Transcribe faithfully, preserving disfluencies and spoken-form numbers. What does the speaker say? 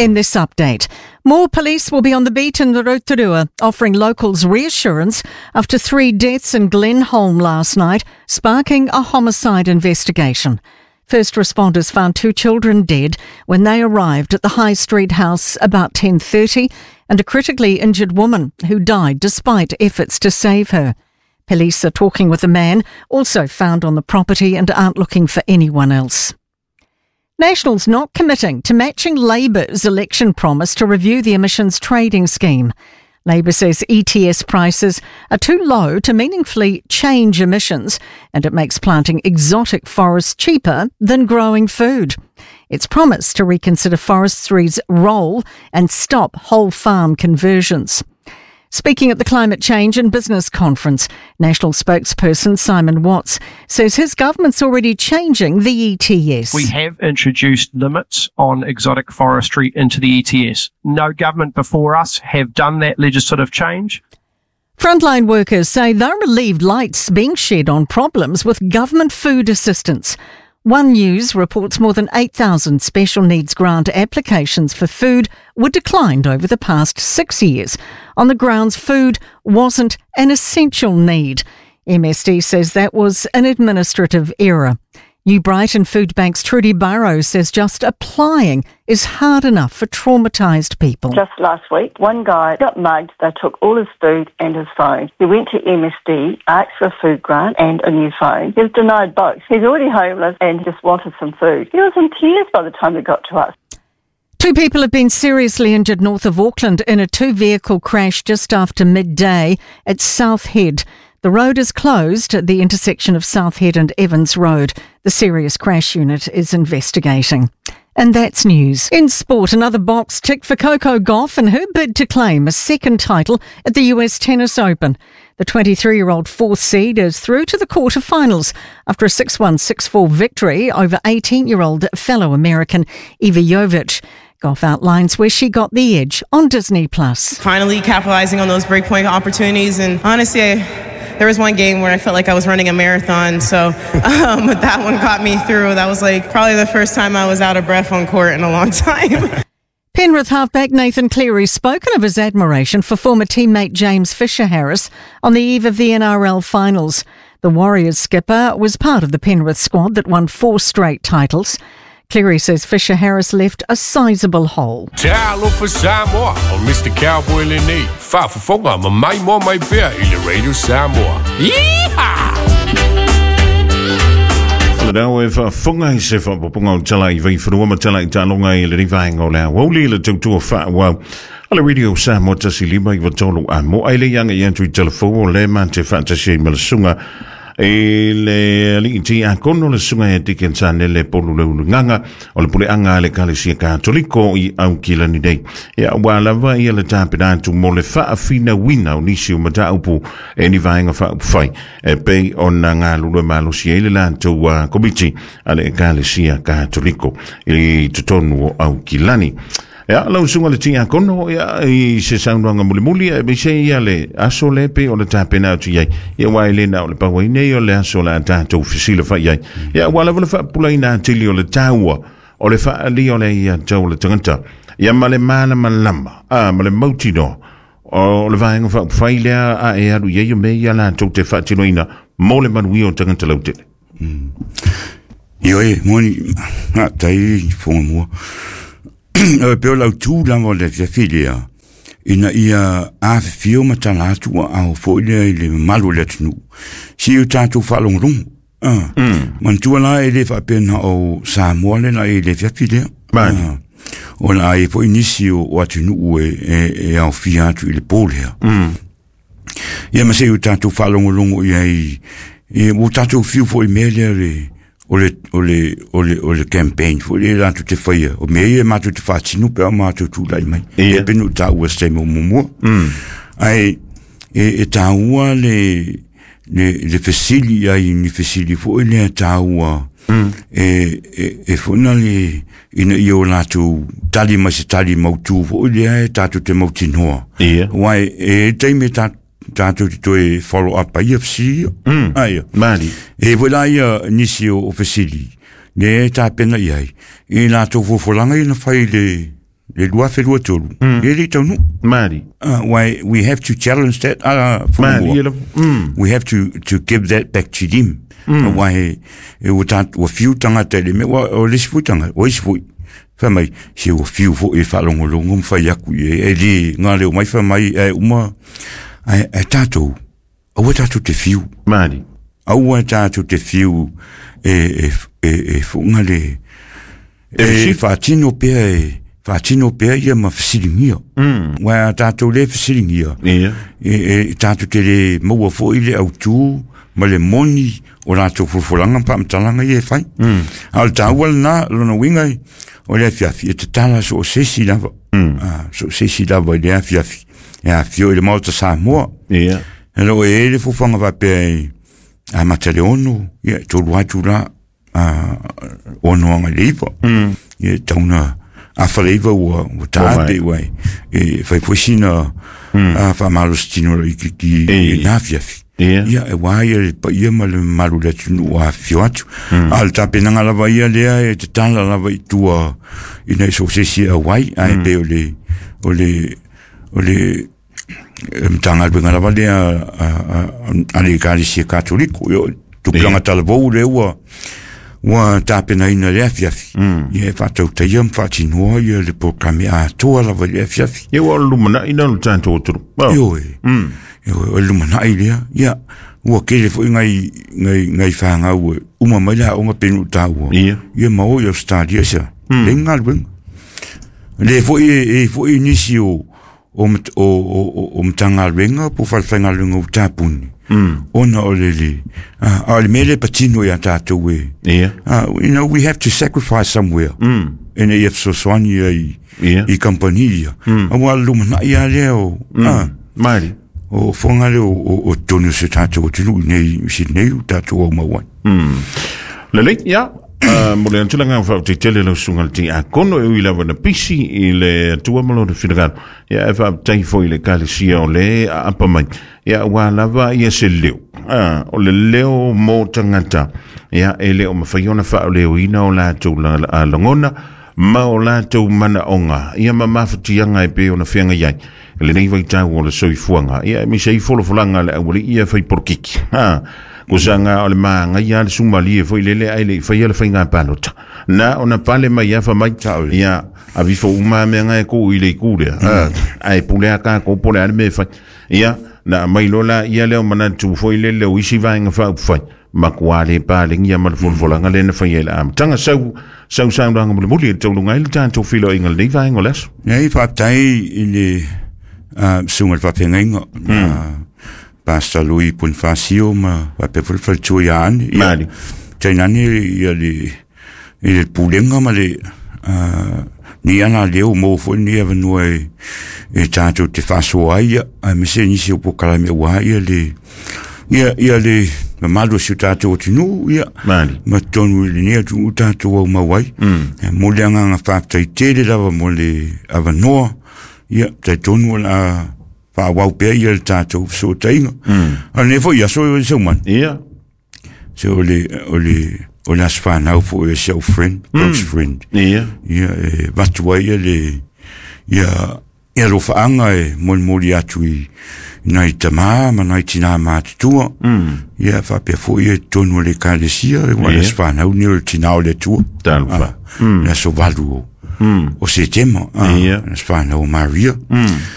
In this update, more police will be on the beat in the Rotorua, offering locals reassurance after three deaths in Glenholme last night, sparking a homicide investigation. First responders found two children dead when they arrived at the High Street house about ten thirty and a critically injured woman who died despite efforts to save her. Police are talking with a man also found on the property and aren't looking for anyone else. Nationals not committing to matching Labour's election promise to review the emissions trading scheme. Labour says E T S prices are too low to meaningfully change emissions, and it makes planting exotic forests cheaper than growing food. It's promised to reconsider forestry's role and stop whole farm conversions. Speaking at the Climate Change and Business Conference, National spokesperson Simon Watts says his government's already changing the E T S. We have introduced limits on exotic forestry into the E T S. No government before us have done that legislative change. Frontline workers say they're relieved light's being shed on problems with government food assistance. One News reports more than eight thousand special needs grant applications for food were declined over the past six years on the grounds food wasn't an essential need. M S D says that was an administrative error. New Brighton Food Bank's Trudy Burrows says just applying is hard enough for traumatised people. Just last week, one guy got mugged. They took all his food and his phone. He went to M S D, asked for a food grant and a new phone. He was denied both. He's already homeless and just wanted some food. He was in tears by the time he got to us. Two people have been seriously injured north of Auckland in a two-vehicle crash just after midday at South Head. The road is closed at the intersection of South Head and Evans Road. The Serious Crash Unit is investigating. And that's news. In sport, another box ticked for Coco Gauff and her bid to claim a second title at the U S Tennis Open. The twenty-three-year-old fourth seed is through to the quarterfinals after a six one, six four victory over eighteen-year-old fellow American Eva Jovic. Gauff outlines where she got the edge on Disney Plus. Finally capitalizing on those breakpoint opportunities, and honestly, I, there was one game where I felt like I was running a marathon, so um, that one got me through. That was like probably the first time I was out of breath on court in a long time. Penrith halfback Nathan Cleary's spoken of his admiration for former teammate James Fisher-Harris on the eve of the N R L finals. The Warriors skipper was part of the Penrith squad that won four straight titles. Cleary says Fisher-Harris left a sizable hole. Talofa Samoa o Mister Cowboy lenei. Faafofoga ma mai mo mai pea i le Radio Samoa. Yeehaw! O le dau e faafofoga i se faapopoga o tala i vaifanua ma tala i taaloga i le rivaenga o le aoauli le tautua faauau. O le Radio Samoa tasi lima i watolu a mo ai le ianga i atu i telefou o le ma te faatasi ai ma le suga e le alii ti a kono le suga e tike tane le polu le ulunganga o le puleanga le Ekalesia Katoliko i Aukilani nei. Ia ua lava ia le tapena atu mo le faafina wina o nisi o mataupu e ni vaenga faaupufai e pei ona galulue malosi ai le latou komiti a le Ekalesia Katoliko i totonu o Aukilani. Ia, lau suga le tia kono, ia, i se saunoaga mulimuli, e me se ia le aso le pe o le tapena atu iai. Ia, ua e lena o le pau ai nei o le aso la tātou fisila fai ai. Ia, ua lava le faapulaina atili o le taua, o le faali o le ia tau le tangata. Ia, ma le mana malama, a, ma le mautino, o le vaenga faapufai lea a e alu iai o me ia latou te faatinoina mo le manuia o tangata lautele. Io e, moni, ngā tai whonga mua. Pe o lau tū lava o le fiafi lea, ina ia awhiwhio ma tala atu a au fo i lea i le malu le atunu. Si o tātou whaalongolongo. Mantua la e le whaapena o Samoa le la e le fiafi lea. O la e fo i nisi o atunu e, e, e au fia atu i le pō lea. Ia ma se o tātou whaalongolongo ia i, e o tātou whiu fo i mea lea le, o le, o le, o le, o le campaign fo le lātou te whaia. O mea ia mātou te whātinu pea mātou tūlai mai. Ia. E penu tāua se mo mumua. Mm. Ai, e, e tāua le, le, le fesili ai ni fesili fo i lea tāua. Mm. E, e, e fona le, ina i o lātou tali mai se tali mautu fo i lea e tātou te mautinoa. Ia. Wai, e teime tātou tātou te toe follow up ai F C. Mm. Ai. Mali. E wela ia nisi o, o fesili. Ne tā pena i ai. I lātou fofolanga i na whai le, le lua afe lua tolu, le le taunu. Mari. Uh, why we have to challenge that uh, Mari e mm. We have to to give that back to them. Mm. Why e ua tā ua fiu tangata le me wa o le isi foi tangata o isi foi fai mai se ua fiu foi e faalogologo ma fai aku i e le ngā leo mai fai mai e uma ai ai tātou aua tātou te fiu. Mari. Aua tātou te fiu e e e e fu'uga le e faatino pea e faatino pea ia ma fesiligia. Mm. Uae a tātou lē fesiligia Ia. e e tātou te lē maua fo'i le autū ma le moni o latou folafolaga ma faamatalaga ia e fai. Mm. A o le tāua lenā lona uiga o le afiafi e tatala so o sesi lava. Mm. Ah, so o sesi lava i le afiafi e afio i le Maota Samoa. Ia. E loo e le fofoga faapea e amata le ono, ia e tolu atu la a ono anga le iva. Mm. Ia e tauna afa le iva ua ua taape ua e e fai foi sina a faamalositino laʻikiki E. i na afiafi. Ia. Ia e wā ia le paia ma le mamalu o le atunuu ua afifio atu. A o le tapenaga lava ia lea e tatala lava i tua ina i so o se isi e auai, ae pei o le o le o le e Matagaluega lava lea a a a le Ekalesia Katoliko, ia o le tupulaga talavou lea ua ua tapenaina i le afiafi. Ia e faatautaia ma faatinoa ia le polokalame atoa lava i le afiafi. Ia ua o le lumanai na o le tātou atunuu. Oh. Ioe. Ioe, o le lumanai lea. Ia, ua kele foi ngai ngai ngai fāgau e uma mai le aoga pe nu'u tāua. Ia. Ia ma o i Australia sa. Le galuega. Le foi e e foi nisi o o mat- o o o, o Matagaluega po o falefaigaluega o tapuni. Ona o le le a a o le mea le patino iā tātou e. Ia. Uh, you know, we have to sacrifice somewhere. Mm. Ina ia fesoasoani ai Ia. i kampani ia. Auā le lumanai a lea o ah, Mari. o foga lea o, o, o totonu o se tātou atunuu i nei Sydney o tātou aumau ai. Lelei, ia. Uh, mo le antulaga faatetele lau susuga le tiakono e ui lava na pisi i le Atua ma lona finagalo. Ia e faafetai foi i le Ekalesia o le aapa mai. Ia auā lava ia se leo. Ah, o le leo mo tagata. Ia e le o mafai ona faaoleoina o latou la, a lagona ma o latou manaoga. Ia ma mafatiaga e pei ona feagai ai lenei vaitau o le soifuaga. Ia e misa i folafolaga a le auali'i ia fai polokiki. Ha. Kusaga o le magaia a le sumalie foi lele ai le faia le faiga palota. Na ona pale mai ia fa mai. Ia avifo uma mea ngai ko i le ku lea. Ah, ai pule a ka ko pole a le me fai. Ia na mai lola ia leo manatu foi lele o isi vaenga faaupufai. Makua le palengia ma le folafolaga le na fai ai le amataga sau sau saunoaga mulimuli e tauluga ai le tatou feloaiga lenei vaega o le aso. Nei, faafetai i le uh, susuga i le faafeagaiga. Mm. Pastor Louis Bonifacio ma faapea foi le faletua ia Ane. Ia, Mali. tainane ia le i le pulega ma le uh, ni ana leo mo foi ni avanua e e tātou te faasoa ai ia, aemaise nisi o polokalame auā ia le ia ia le mamalu o si o tātou atunuu ia Mali. ma totonu i lenei atunuu tātou aumau ai. Mm. Mo le agaga faafetai tele lava mo le avanoa ia talitonu o le a faaauau pea ia le tātou fesootaiga. Mm. A lenei foi aso e saumani. Ia. Se o le o le o le aso fanau foi e si au friend, close friend. Ia. Ia e vatu ai ia le ia ia alofaaga e molimoli atu i i nai tamā ma nai tinā matutua. Mm. Ia faapea foi ia i totonu o le Ekalesia e ua le Ia. aso fanau nei o le tinā o le Atua. Talofa. Ah, le aso valu o Mm. o Setema, ah, Ia. le aso fanau o Maria. Mm.